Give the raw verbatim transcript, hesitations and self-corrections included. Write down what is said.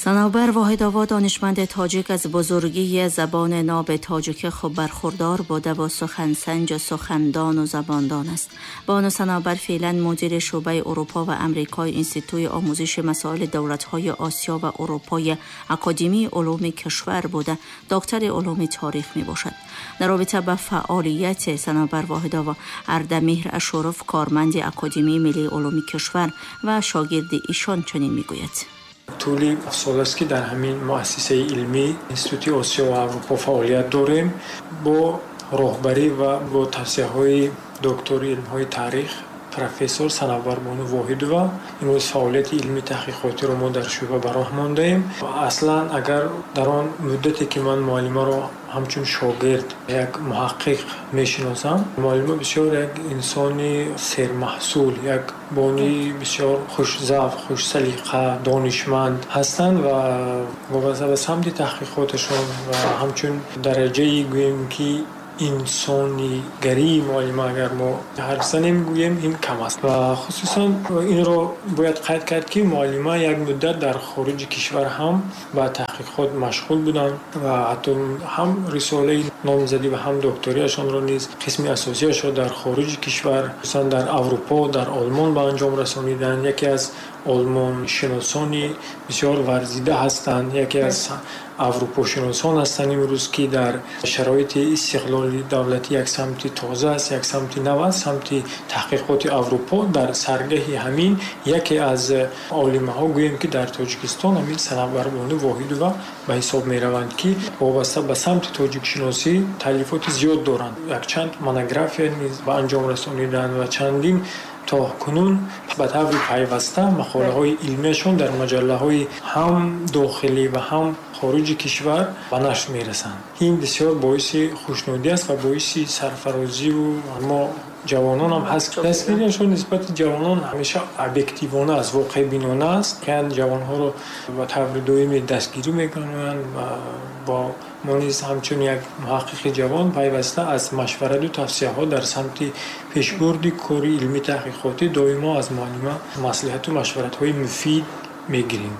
Санобар Воҳидова, донишманд тоҷик, аз бузургии забони ноб тоҷикӣ хуб бархурдор буда ва сухансанҷ, сухандон ва забондон аст. Бону Санобар феълан мудири шӯъбаи Аврупо ва Амрикои Институти омӯзиши масоили давлатҳои Осиё ва Аврупои Академияи улуми кишвар буда, доктори улуми таърих мебошад. Дар робита ба фаъолияти Санобар Воҳидова, Ардамеҳр Ашуров, корманди Академияи миллии улуми кишвар ва шогирди ишон, чунин мегӯяд: Тӯли сол аст, ки дар ҳамин муассисаи илмӣ, Институти Осиё ва Аврупо, фаъолият дорем. Бо роҳбарӣ ва бо тавсияҳои доктори илмҳои таърих, профессор Санавбарбону Воҳидова имрӯз фаъолияти илмии таҳқиқотиро мо дар шӯъба ба роҳ мондаем. Аслан, агар дар он муддате, ки ман муаллимаро ҳамчун шогирд, як муҳаққиқ мешиносам, муаллима бисёр як инсони сермаҳсул, як бонуи бисёр хушзавқ, хушсалиқа, донишманд ҳастанд ва вобаста ба самти таҳқиқоташон ва ҳамчун дараҷаи, гӯем ки, инсонигарии муаллима агар мо ҳарф занем, гӯем, ин кам аст. Ва хусусан инро бояд қайд кард, ки муаллима як муддат дар хориҷи кишвар ҳам ба таҳқиқот машғул буданд ва ҳатто ҳам рисолаи номзадӣ ва ҳам докториашонро низ қисми асосиашро дар хориҷи кишвар, хусусан дар Аврупо, дар Олмон ба анҷом расониданд. Яке аз олмоншиносони бисёр варзида ҳастанд, яке аз аврупошиносон ҳастанд имрӯз, ки дар шароити истиқлоли давлатӣ як самти тоза аст, як самти нав аст, самти таҳқиқоти Аврупо. Дар саргаҳи ҳамин яке аз олимаҳо, гӯем ки, дар Тоҷикистон ҳамин Санавбарбону Воҳидова ба ҳисоб мераванд, ки вобаста ба самти тоҷикшиносӣ таълифоти зиёд доранд, якчанд монография низ ба анҷом расониданд ва чандин то кунун ба таври пайваста мақолаҳои илмиашон дар маҷаллаҳои ҳам дохилӣ ва ҳам хориҷи кишвар ба нашр мерасанд. Ин бисёр боиси хушнудӣ аст ва боиси сарфарозиву мо ҷавононам ҳаст. Дастгириашон нисбати ҷавонон ҳамеша объективона аст, воқеъбинона аст. Ҷавонҳоро ба таври доимӣ дастгирӣ мекунанд ва бо мо низ ҳамчун як муҳаққиқи ҷавон пайваста аз машварату тавсияҳо дар самти пешбурди кори илмии таҳқиқотӣ доимо аз муаллима маслиҳату машваратҳои муфид мегирем.